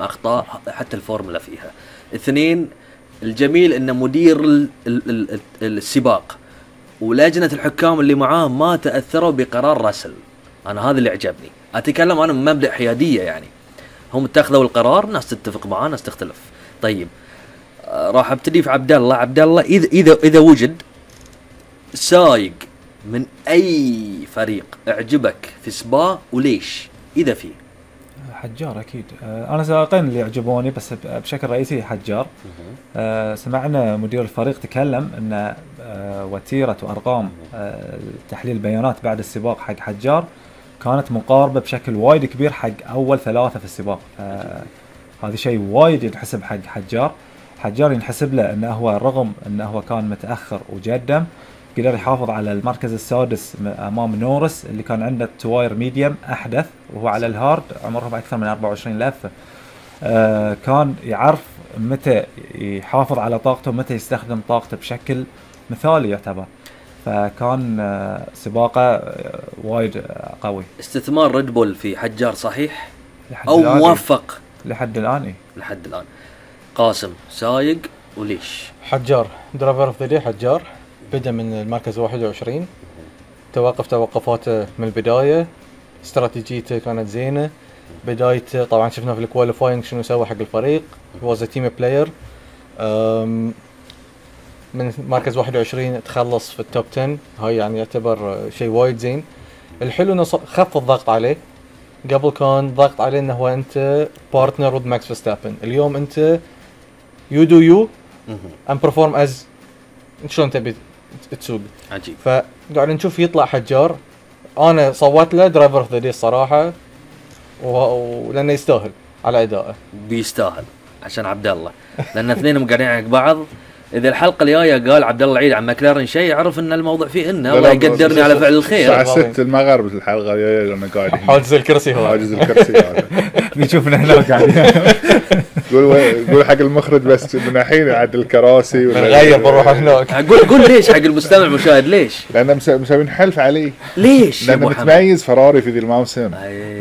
أخطاء حتى الفورمولا فيها. اثنين، الجميل أن مدير السباق ولجنة الحكام اللي معاه ما تأثروا بقرار راسل. أنا هذا اللي عجبني. أتكلم أنا من مبدأ حيادية، يعني هم اتخذوا القرار، ناس تتفق معاه ناس تختلف. طيب راح ابتدي في عبد الله. عبد الله إذا وجد سايق من أي فريق اعجبك في سباق وليش؟ إذا فيه حجار أكيد. أنا سائقين اللي يعجبوني بس بشكل رئيسي حجار. سمعنا مدير الفريق تكلم أن وتيرة وأرقام تحليل البيانات بعد السباق حق حجار كانت مقاربة بشكل وايد كبير حق أول 3 في السباق. هذا شيء وايد ينحسب حق حجار. حجار ينحسب له أنه هو رغم أنه هو كان متأخر وجدم قدر يحافظ على المركز السادس أمام نورس اللي كان عنده التواير ميديم أحدث وهو على الهارد عمرهم أكثر من 24 لفة. كان يعرف متى يحافظ على طاقته ومتى يستخدم طاقته بشكل مثالي يعتبر. فكان سباقه وايد قوي. استثمار ريد بول في حجار صحيح أو موفق لحد الآن؟ إيه لحد الآن. قاسم سايق وليش؟ حجار درايفر اوف ذا داي. حجار بدأ من المركز 21، توقفاته من البداية، استراتيجيته كانت زينة. بدايته طبعا شفنا في الكواليفاينج شنو سوى حق الفريق، هو زي تيم بلاير. من مركز 21 تخلص في التوب 10، هاي يعني يعتبر شيء وايد زين. الحلو انه خف الضغط عليه. قبل كان ضغط عليه انه هو انت بارتنر ود ماكس فيرستابن، اليوم انت يو دو يو ام برفورم از شلون تبي تسوق. عجيب. فقاعد نشوف يطلع حجار. انا صوت له درايفر اوف ذا داي الصراحه، ولانه يستاهل على ادائه. بيستاهل عشان عبد الله، لان اثنينهم قاعدين على بعض. اذا الحلقه الجايه قال عبد الله العيد عن ماكلارن شيء، يعرف ان الموضوع فيه انه الله يقدرني على فعل الخير. الساعه 6 المغرب الحلقه الجايه انا قاعد حاجز الكرسي هو حاجز الكرسي هذا نشوفنا هنا قاعدين. قول حق المخرج بس من الحين عاد الكراسي نغير بنروح هناك. قول ليش حق المستمع المشاهد ليش؟ لان مسوين حلف عليه. ليش؟ لان متميز فراري في ذي الموسم.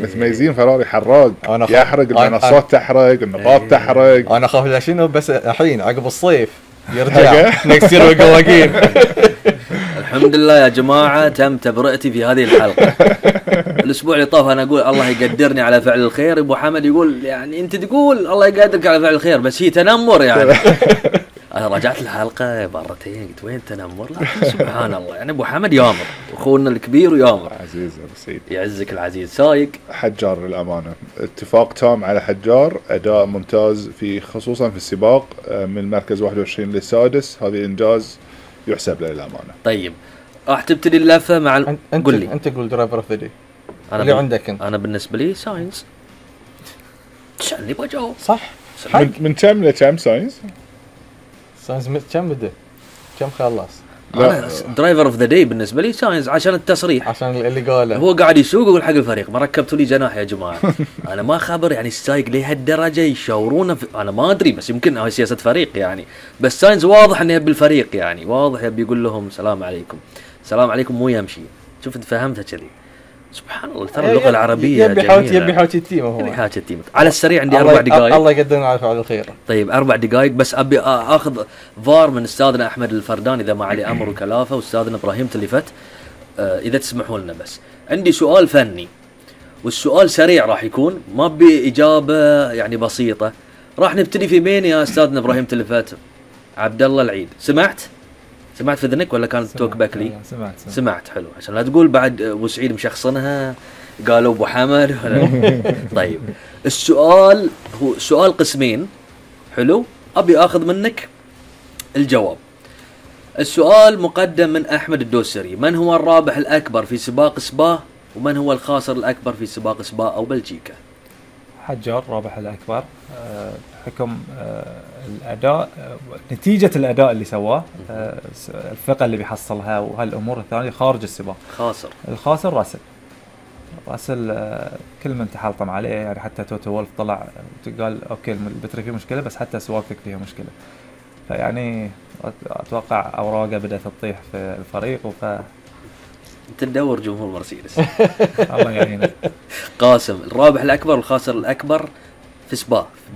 متميزين فراري حراق، يحرق المنصات، تحرق النقاط، تحرق. انا خاف لا شنو بس الحين عقب الصيف يرجع نكست يير وقواقين. الحمد لله يا جماعة تم تبرئتي في هذه الحلقة. الأسبوع اللي طاف أنا أقول الله يقدرني على فعل الخير، أبو حمد يقول يعني أنت تقول الله يقدرك على فعل الخير بس هي تنمر يعني. أنا رجعت الحلقة مرتين قلت وين تنمر؟ لا سبحان الله، يعني أبو حمد يامر أخونا الكبير ويامر. عزيز أبو سيد يعزك العزيز. سايق حجار للأمانة اتفاق تام على حجار، أداء ممتاز في خصوصا في السباق من المركز 21 للسادس، هذا إنجاز يحسب له للأمانة. طيب راح تبتدي اللفة مع قل لي أنت قول درايفر اوف ذا داي اللي عندك انت. أنا بالنسبة لي ساينز. شنو بجاوب صح؟ من كم لكم ساينز كم بده كم خلص؟ أنا درايفر اوف ذا داي بالنسبة لي ساينز عشان التصريح، عشان اللي قاله هو قاعد يسوق ويقول حق الفريق ما ركبتوا لي جناح يا جماعة. أنا ما خبر يعني السايق لهالدرجة يشاورونه أنا ما أدري، بس يمكن هاي سياسة فريق يعني. بس ساينز واضح إنه يبي الفريق، يعني واضح يبي يقول لهم سلام عليكم سلام عليكم مو يمشي. شفت فهمتها كذي. سبحان الله ترى اللغة العربية يبي حاجة التيم. هو يبي حاجة التيم. على السريع عندي 4 دقائق. الله يقدرنا على فعل الخير. طيب 4 دقائق بس أبي أخذ فار من أستاذنا أحمد الفردان إذا ما علي أمر وكلافة، وأستاذنا إبراهيم تلفت إذا تسمحوا لنا. بس عندي سؤال فني، والسؤال سريع راح يكون ما بإجابة يعني بسيطة. راح نبتدي في مين يا أستاذنا إبراهيم تلفت؟ عبد الله العيد. سمعت في ذنك ولا كانت توك باك لي؟ سمعت. حلو عشان لا تقول بعد أبو سعيد مشخصنها قالوا أبو حمد. طيب السؤال هو سؤال قسمين. حلو أبي أخذ منك الجواب. السؤال مقدم من أحمد الدوسري: من هو الرابح الأكبر في سباق سبا، ومن هو الخاسر الأكبر في سباق سبا أو بلجيكا؟ حجار رابح الأكبر حكم الأداء، نتيجة الأداء اللي سواه، الثقة اللي بيحصلها وهالأمور الثانية خارج السباق. الخاسر راسل كل من تحلطم عليه، يعني حتى توتو وولف طلع قال أوكي البتري فيه مشكلة بس حتى سواقتك فيها مشكلة. فيعني أتوقع أوراقه بدأت تطيح في الفريق تدور جمهور مرسيدس. الله يعينه. قاسم الرابح الأكبر والخاسر الأكبر في سبا